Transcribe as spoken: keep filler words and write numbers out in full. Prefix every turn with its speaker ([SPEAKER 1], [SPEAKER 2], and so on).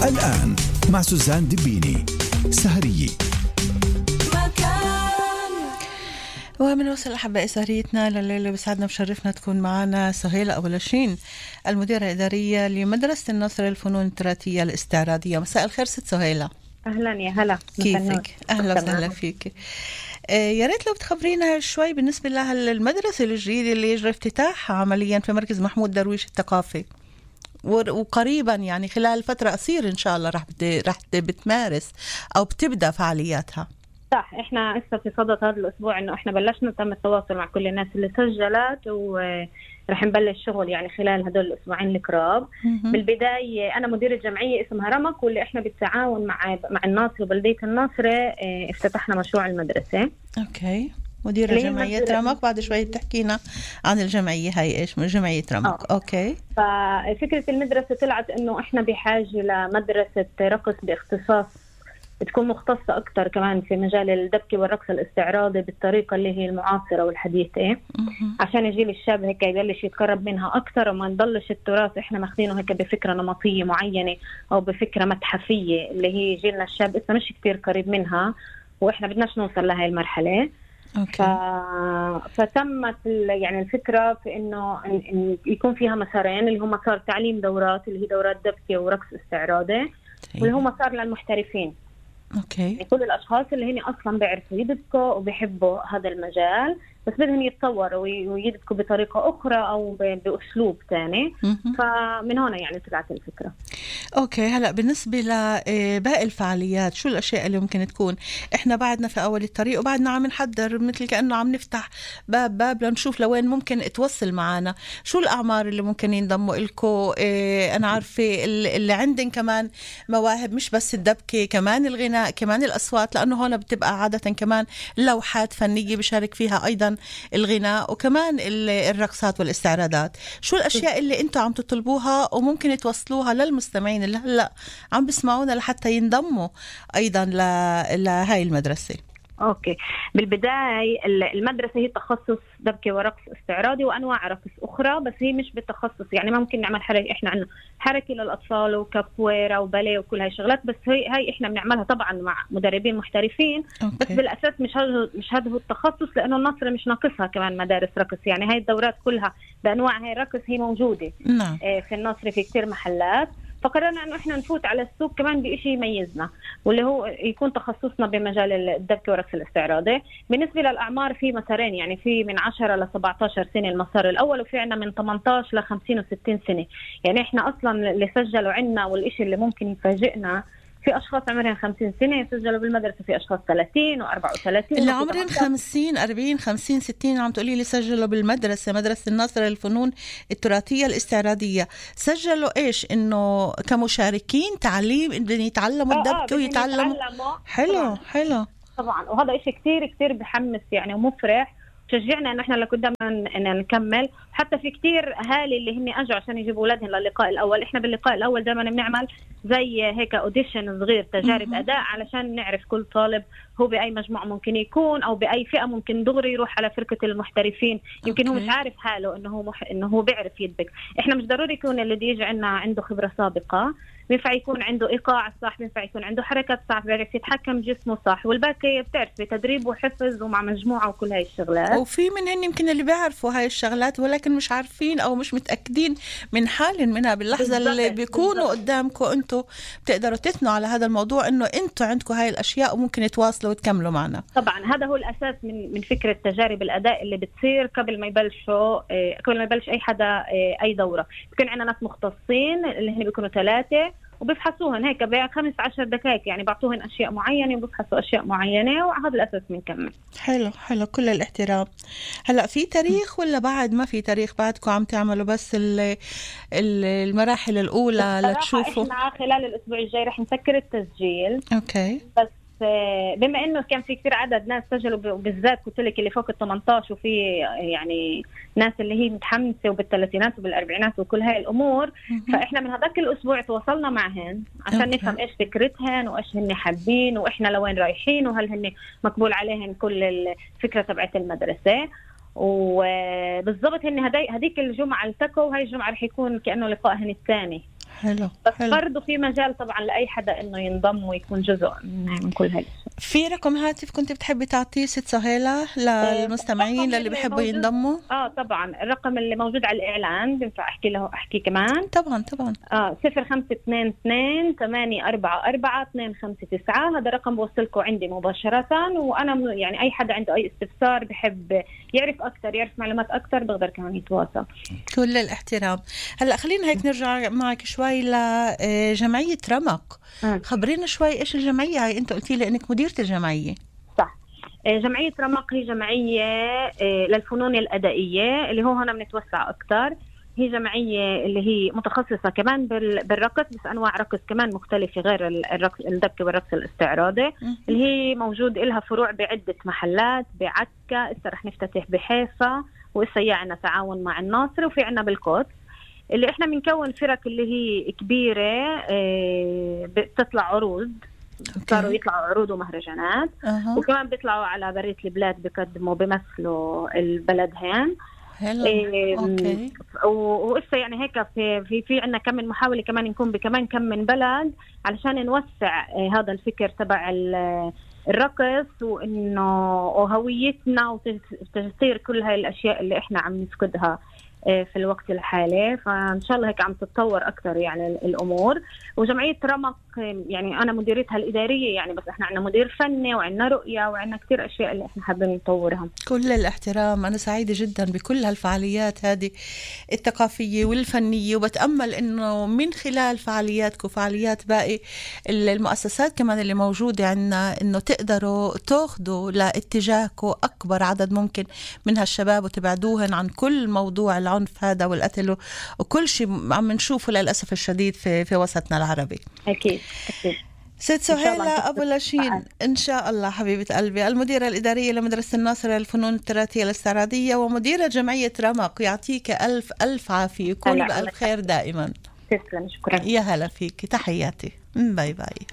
[SPEAKER 1] الآن مع سوزان دبيني سهرية.
[SPEAKER 2] ومن وصل أحبائي سهريتنا لليلة، بسعدنا بشرفنا تكون معنا سهيلة أبو لاشين، المديرة الإدارية لمدرسة النصر للفنون التراثية الاستعراضية. مساء الخير ست سهيلة.
[SPEAKER 3] أهلا يا هلا،
[SPEAKER 2] كيفك؟ أهلا وسهلا فيك. آه يا ريت لو بتخبرينا شوي بالنسبة لها المدرسة الجديدة اللي يجري افتتاحها عمليا في مركز محمود درويش الثقافي، وقريبا يعني خلال فترة قصيرة إن شاء الله رح رح بتمارس أو بتبدأ فعالياتها.
[SPEAKER 3] صح، احنا هسه في صدد هذا الاسبوع انه احنا بلشنا تم التواصل مع كل الناس اللي سجلت، ورح نبلش شغل يعني خلال هدول الاسبوعين القراب. بالبدايه انا مديره جمعيه اسمها رمق، واللي احنا بالتعاون مع مع الناصر وبلديه الناصر اه افتتحنا مشروع المدرسه.
[SPEAKER 2] اوكي، مديره جمعيه رمق. بعد شوي بتحكينا عن الجمعيه هاي، ايش من جمعيه رمق.
[SPEAKER 3] أوه.
[SPEAKER 2] اوكي.
[SPEAKER 3] ففكره المدرسه طلعت انه احنا بحاجه لمدرسه رقص باختصاص بتكون مختصة أكتر كمان في مجال الدبكة والرقص الاستعراضي بالطريقة اللي هي المعاصرة والحديثة، عشان الجيل الشاب هيك يبلش يتقرب منها أكتر، وما نضلش التراث إحنا ماخذينه هيك بفكرة نمطية معينة أو بفكرة متحفية اللي هي جيلنا الشاب إسا مش كتير قريب منها، وإحنا بدناش نوصل لهاي المرحلة.
[SPEAKER 2] أوكي.
[SPEAKER 3] ف... فتمت يعني الفكرة في إنه إن يكون فيها مسارين، اللي هو مسار تعليم دورات اللي هي دورات دبكة ورقص استعراضي، واللي هو مسار للمحترفين.
[SPEAKER 2] اوكي.
[SPEAKER 3] يعني كل الاشخاص اللي هن اصلا بيعرفوا يدبكوا وبيحبوا هذا المجال، بس بدهم يتطوروا ويدبكوا بطريقه اخرى او باسلوب ثاني. فمن هنا يعني طلعت الفكره.
[SPEAKER 2] اوكي. هلا بالنسبه لباقي الفعاليات، شو الاشياء اللي ممكن تكون؟ احنا بعدنا في اول الطريق وبعدنا عم نحضر مثل كانه عم نفتح باب باب لنشوف لوين ممكن توصل معنا. شو الاعمار اللي ممكن ينضموا لكم؟ إيه انا عارفه اللي عندن كمان مواهب، مش بس الدبكه، كمان الغناء، كمان الاصوات، لانه هون بتبقى عاده كمان لوحات فنيه بشارك فيها ايضا الغناء، وكمان الرقصات والاستعراضات. شو الاشياء اللي انتم عم تطلبوها وممكن توصلوها للمستمعين اللي هلا عم بسمعونا لحتى ينضموا ايضا لهاي المدرسه؟
[SPEAKER 3] اوكي، بالبدايه المدرسه هي تخصص دبكه ورقص استعراضي وانواع رقص اخرى، بس هي مش بالتخصص يعني ما ممكن نعمل حركه. احنا عندنا حركه للاطفال وكابويرا وباليه وكل هاي الشغلات، بس هي هاي احنا بنعملها طبعا مع مدربين محترفين. أوكي. بس بالاساس مش هذا مش هذا هو التخصص، لانه النصر مش ناقصها كمان مدارس رقص. يعني هاي الدورات كلها بانواع هاي الرقص هي موجوده.
[SPEAKER 2] نعم.
[SPEAKER 3] في النصر في كتير محلات، فقررنا انه احنا نفوت على السوق كمان بشيء يميزنا، واللي هو يكون تخصصنا بمجال الدبكه ورقص الاستعراضي. بالنسبه للاعمار في مسارين، يعني في من عشرة ل سبعة عشر سنه المسار الاول، وفي عندنا من ثمانية عشر ل خمسين وستين سنه. يعني احنا اصلا اللي سجلوا عندنا والشيء اللي ممكن يفاجئنا، في اشخاص عمرهم خمسين سنه يسجلوا بالمدرسه، في اشخاص ثلاثين وأربعة وثلاثين
[SPEAKER 2] اللي عمرهم خمسين أربعين خمسين ستين. عم تقولي لي سجلوا بالمدرسه، مدرسه النصر للفنون التراثيه الاستعراضيه. سجلوا ايش؟ انه كمشاركين تعليم، بدهم يتعلموا الدبكه ويتعلموا. حلو طبعاً. حلو
[SPEAKER 3] طبعا، وهذا شيء كتير كتير بحمس يعني ومفرح، شجعنا ان احنا لقدام ان نكمل. حتى في كتير اهالي اللي هن اجوا عشان يجيبوا اولادهم للقاء الاول. احنا باللقاء الاول دائما بنعمل زي هيك اوديشن صغير، تجارب اداء، علشان نعرف كل طالب هو باي مجموعه ممكن يكون او باي فئه ممكن دغري يروح على فرقه المحترفين. يمكن أوكي. هو مش عارف حاله انه هو مح... انه هو بيعرف يدبك. احنا مش ضروري يكون اللي يجي عندنا عنده خبره سابقه، بينفع يكون عنده ايقاع صح، بينفع يكون عنده حركات صح، بيعرف يتحكم جسمه صح، والباقي بتعرف بتدريب وحفظ ومع مجموعه وكل هاي الشغلات.
[SPEAKER 2] وفي منهن يمكن اللي بيعرفوا هاي الشغلات ولكن مش عارفين او مش متاكدين من حال منها. باللحظه اللي بيكونوا قدامكم انتم بتقدروا تثنوا على هذا الموضوع، انه انتم عندكم هاي الاشياء وممكن تواصلوا وتكملوا معنا.
[SPEAKER 3] طبعا هذا هو الاساس من من فكره تجارب الاداء اللي بتصير قبل ما يبلشوا قبل ما يبلش اي حدا اي دوره. بيكون عندنا ناس مختصين اللي هن بيكونوا ثلاثه، وبيفحصوهن هيك بخمس عشر دقائق، يعني بعطوهن أشياء معينة وبيفحصوا أشياء معينة، وعلى هذا الأساس بنكمل.
[SPEAKER 2] حلو حلو، كل الاحترام. هلأ في تاريخ ولا بعد ما في تاريخ؟ بعدكم عم تعملوا بس ال المراحل الأولى لتشوفوا؟
[SPEAKER 3] إحنا خلال الأسبوع الجاي رح نسكر التسجيل.
[SPEAKER 2] أوكي.
[SPEAKER 3] بس بما انه كان في كثير عدد ناس سجلوا، وبالذات قلت لك اللي فوق ال ثمانية عشر، وفي يعني ناس اللي هي متحمسه وبالثلاثينات وبالاربعينات وكل هاي الامور، فاحنا من هذاك الاسبوع تواصلنا معهن عشان أوكي. نفهم ايش فكرتهن وايش هن حابين واحنا لوين رايحين، وهل هن مقبول عليهن كل الفكره تبعت المدرسه. وبالضبط هن هديك الجمعه التقوا، وهي الجمعه رح يكون كانه لقائهن الثاني.
[SPEAKER 2] حلو
[SPEAKER 3] بس
[SPEAKER 2] حلو.
[SPEAKER 3] برضه في مجال طبعا لأي حدا إنه ينضم ويكون جزء من كل هالشيء.
[SPEAKER 2] في رقم هاتف كنت بتحبي تعطيه ست سهيلة للمستمعين للي بيحبوا ينضموا؟
[SPEAKER 3] اه طبعا الرقم اللي موجود على الإعلان بينفع أحكي له أحكي كمان؟
[SPEAKER 2] طبعا طبعا.
[SPEAKER 3] اه صفر خمسة اثنين اثنين ثمانية أربعة أربعة اثنين خمسة تسعة. هذا رقم بوصلكم عندي مباشرة، وأنا يعني أي حدا عنده أي استفسار بحب يعرف أكتر يعرف معلومات أكتر بقدر كمان يتواصل.
[SPEAKER 2] كل الاحترام. هلا خلينا هيك نرجع معك شوي لجمعية رمق. م. خبرينا شوي إيش الجمعية هاي؟ أنت قلتي لي إنك مديرة الجمعية.
[SPEAKER 3] صح. جمعية رمق هي جمعية للفنون الأدائية اللي هو هنا بنتوسع أكتر. هي جمعية اللي هي متخصصة كمان بالرقص، بس أنواع رقص كمان مختلفة غير الرقص الدبكة والرقص الاستعراضي، اللي هي موجود إلها فروع بعدة محلات بعكا. إسا رح نفتتح بحيفا، وإسا يعنا تعاون مع الناصر، وفي عنا بالقدس اللي إحنا بنكون فرق اللي هي كبيرة بتطلع عروض. صاروا يطلعوا عروض ومهرجانات. أه. وكمان بيطلعوا على برية البلاد بيقدموا بيمثلوا البلدهن.
[SPEAKER 2] إيه اوكي.
[SPEAKER 3] وإسا يعني هيك في في في عندنا كم من محاولة كمان نكون بكمان كم من بلد علشان نوسع هذا الفكر تبع الرقص، وإنه وهويتنا وتسير كل هاي الأشياء اللي إحنا عم نفقدها في الوقت الحالي. فإن شاء الله هيك عم تتطور أكتر يعني الأمور. وجمعية رمق يعني أنا مديرتها الإدارية يعني، بس إحنا عنا مدير فني وعنا رؤية وعنا كتير أشياء اللي إحنا حابين نطورها.
[SPEAKER 2] كل الاحترام. أنا سعيدة جدا بكل هالفعاليات هذه الثقافية والفنية، وبتأمل إنه من خلال فعالياتكم وفعاليات باقي المؤسسات كمان اللي موجودة عنا إنه تقدروا تأخذوا لاتجاهكم أكبر عدد ممكن من هالشباب وتبعدوهن عن كل موضوع العنف هذا والقتل وكل شيء عم نشوفه للأسف الشديد في في وسطنا العربي.
[SPEAKER 3] أكيد أكيد.
[SPEAKER 2] ست سهيلة أبو لاشين إن شاء الله حبيبة قلبي، المديرة الإدارية لمدرسة الناصر للفنون التراثية الاستعراضية ومديرة جمعية رمق، يعطيك ألف ألف عافية، يكون بألف خير دائما.
[SPEAKER 3] تسلم، شكرا.
[SPEAKER 2] يا هلا فيك، تحياتي، باي باي.